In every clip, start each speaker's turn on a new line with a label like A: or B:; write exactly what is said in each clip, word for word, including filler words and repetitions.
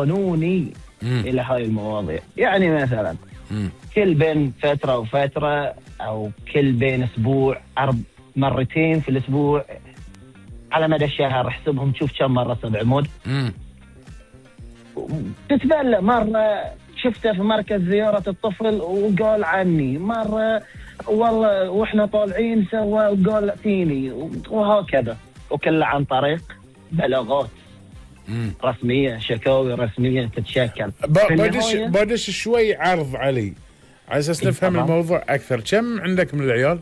A: قانوني
B: مم.
A: الى هاي المواضيع. يعني مثلا
B: مم.
A: كل بين فتره وفتره او كل بين اسبوع أرب مرتين في الاسبوع على مدى الشهر احسبهم، شوف كم مره سبع مود.
B: مم.
A: تتبلى مره شفته في مركز زياره الطفل وقال عني، مره والله واحنا طالعين سوى وقال فيني، وهكذا. وكله عن طريق بلاغات
B: مم.
A: رسميه، شكاوي رسميه تتشكل.
B: ب- بدش بدش شوي عرض علي على اساس نفهم
A: طبعاً.
B: الموضوع اكثر. كم عندك من العيال؟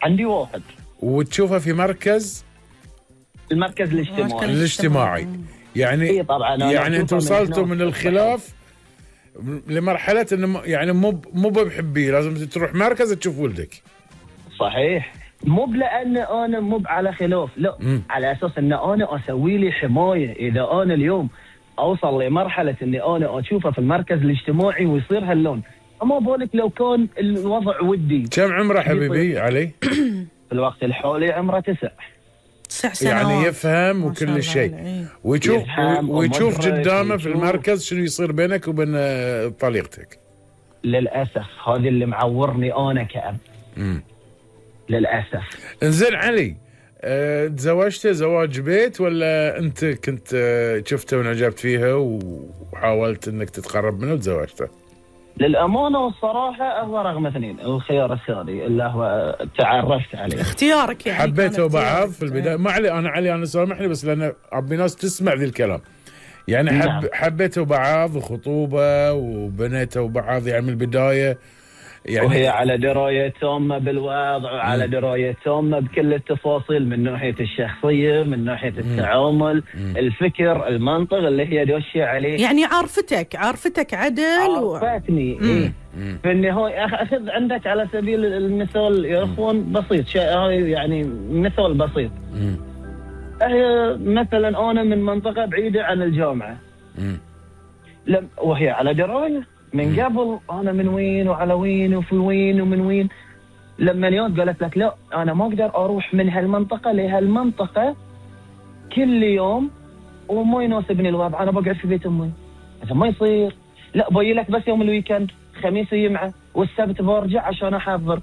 A: عندي واحد.
B: وتشوفه في مركز
A: المركز الاجتماعي.
C: مركز
B: الاجتماعي يعني
A: إيه طبعاً، أنا
B: يعني
A: أشوفه
B: انت
A: من
B: وصلتوا
A: هنا
B: من الخلاف لمرحله انه م- يعني مو مو بحبيه، لازم تروح مركز تشوف ولدك.
A: صحيح، مو لان انا مو على خلاف، لا
B: مم.
A: على اساس ان انا اسوي لي حمايه. اذا انا اليوم اوصل لمرحله اني انا اشوفه في المركز الاجتماعي ويصير هاللون، اما بالك لو كان الوضع ودي.
B: كم عمره حبيبي علي؟
A: في الوقت الحالي عمره تسع.
C: تسع سنوات
B: يعني يفهم
C: ما شاء
B: وكل
C: الله
B: شيء،
C: عليه.
B: ويشوف
A: يفهم
B: ويشوف
A: ومدرك
B: قدامه في
A: ويشوف.
B: المركز شنو يصير بينك وبين آه، طليقتك.
A: للاسف هذا اللي معورني انا كأب.
B: امم
A: للاسف.
B: انزين علي، أه تزوجت زواج بيت ولا انت كنت أه شفته وانعجبت فيها وحاولت انك تتقرب منه وتزوجته؟
A: للامانه والصراحه هو رقم اثنين، الخيار الثاني اللي هو تعرفت عليه.
C: اختيارك يعني
B: حبيتوا
C: كان
B: بعض
C: اختيارك.
B: في البدايه؟ ما علي انا علي انا سامحني بس لان ابي ناس تسمع ذي الكلام. يعني حب
A: نعم.
B: حبيتوا بعض وخطوبه وبنيتوا بعض يعني من البدايه يعني.
A: وهي على درايه تامه بالوضع وعلى درايه تامه بكل التفاصيل، من ناحيه الشخصيه، من ناحيه التعامل، الفكر، المنطق اللي هي دوشه عليه.
C: يعني عارفتك عارفتك عدل و...
A: عرفتني. إيه. في النهايه أخ- اخذ عندك على سبيل المثال يا اخوان بسيط، شيء هاي يعني مثال بسيط.
B: مم.
A: هي مثلا انا من منطقه بعيده عن الجامعه،
B: مم.
A: لم وهي على درايه من قبل انا من وين وعلى وين وفي وين ومن وين. لما اليوم قالت لك لا انا ما اقدر اروح من هالمنطقه لهالمنطقه كل يوم وما يناسبني الوضع، انا بقعد في بيت امي. هذا ما يصير. لا باجي لك بس يوم الويكند، خميس يجمعه والسبت برجع عشان احضر.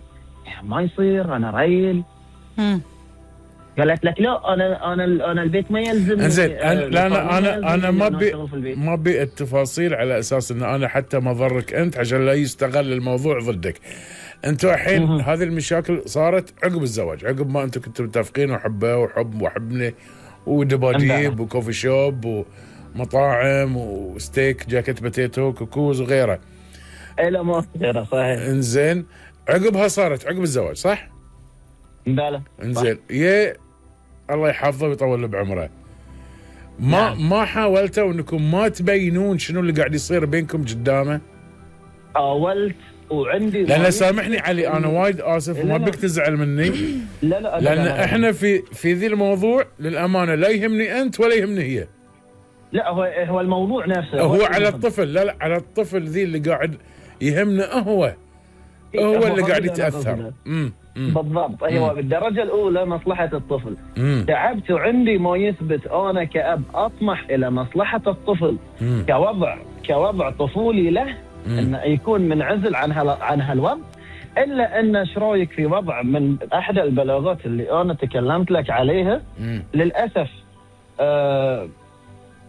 A: ما يصير، انا ريل.
C: مم.
A: قالت لك لا انا انا انا البيت ما يلزمني.
B: انزين
A: آه،
B: أنا لا انا انا
A: يلزمني
B: انا ما
A: إن
B: بي
A: أشتغل في البيت.
B: ما بي التفاصيل على اساس ان انا حتى ما ضرك انت عشان لا يستغل الموضوع ضدك. انتوا الحين هذه المشاكل صارت عقب الزواج، عقب ما انتوا كنتوا متفقين وحبه وحب وحبني ودباديب وكوفي شوب ومطاعم وستيك جاكيت باتيتو كوكوز وغيره.
A: اي لا ما غيره. صحيح.
B: انزين عقبها صارت عقب الزواج صح؟
A: بلى.
B: انزين يا الله يحفظه ويطول له بعمره. ما
A: نعم.
B: ما حاولتوا انكم ما تبينون شنو اللي قاعد يصير بينكم قدامه؟
A: حاولت وعندي
B: لان سامحني علي انا وايد اسف وما بك تزعل مني.
A: لا لا
B: لان
A: لا
B: احنا في في ذي الموضوع للامانه لا يهمني انت ولا يهمني هي.
A: لا هو هو الموضوع نفسه
B: هو على الطفل، لا لا على الطفل ذي اللي قاعد يهمنا هو هو اللي قاعد يتاثر. امم
A: بالضبط. هو بالدرجه الاولى مصلحه الطفل.
B: مم.
A: تعبت وعندي ما يثبت انا كأب اطمح الى مصلحه الطفل
B: مم.
A: كوضع كوضع طفولي له، انه يكون منعزل عن هال عن هالوضع. الا ان ايش رايك في وضع من احدى البلاغات اللي انا تكلمت لك عليها؟
B: مم.
A: للاسف آه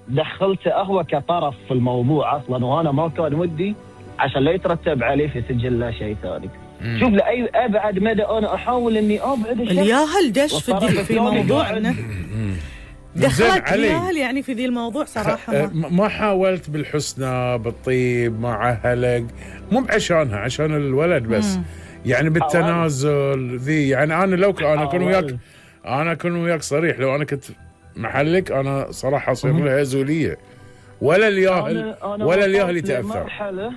A: دخلت هو كطرف في الموضوع اصلا، وانا ما كان ودي عشان لا يترتب عليه في سجل لا شيء ثاني.
B: مم.
A: شوف لاي ابعد مدى انا احاول اني ابعد الشخص.
C: الياهل دش في
A: والطرف
C: ذي في
A: الثاني
C: موضوعنا.
B: زين
C: دخلت
B: علي.
C: الياهل يعني في ذي الموضوع صراحه
B: أه،
C: ما.
B: ما حاولت بالحسنى بالطيب مع هلق مو بعشانها عشان الولد بس.
C: مم.
B: يعني بالتنازل ذي يعني انا لو ك- انا اكون
A: حاولت.
B: وياك انا اكون وياك صريح، لو انا كنت محلك انا صراحه اصير لها زوليه ولا الياهل
A: أنا- أنا
B: ولا الياهل
A: وصلت
B: يتاثر.
A: لمرحلة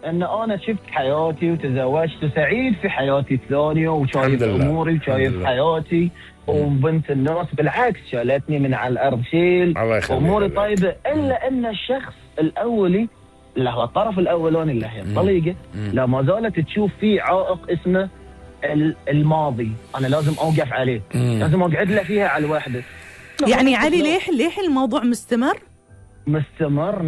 A: ان انا شفت حياتي وتزوجت وسعيد في حياتي الثانيه
B: الحمد
A: وشايف
B: لله.
A: اموري
B: الحمد
A: وشايف
B: لله.
A: حياتي وبنت الناس بالعكس شالتني من على الارض شيل
B: الله يخليك.
A: اموري طيبه. الا ان الشخص الاولي اللي هو الطرف الاولاني اللي هي الطليقه لا ما زالت تشوف فيه عائق اسمه ال- الماضي. انا لازم اوقف عليه،
B: مم.
A: لازم اقعد له فيها على الوحده.
C: يعني علي ليه ليه الموضوع مستمر؟
A: مستمر.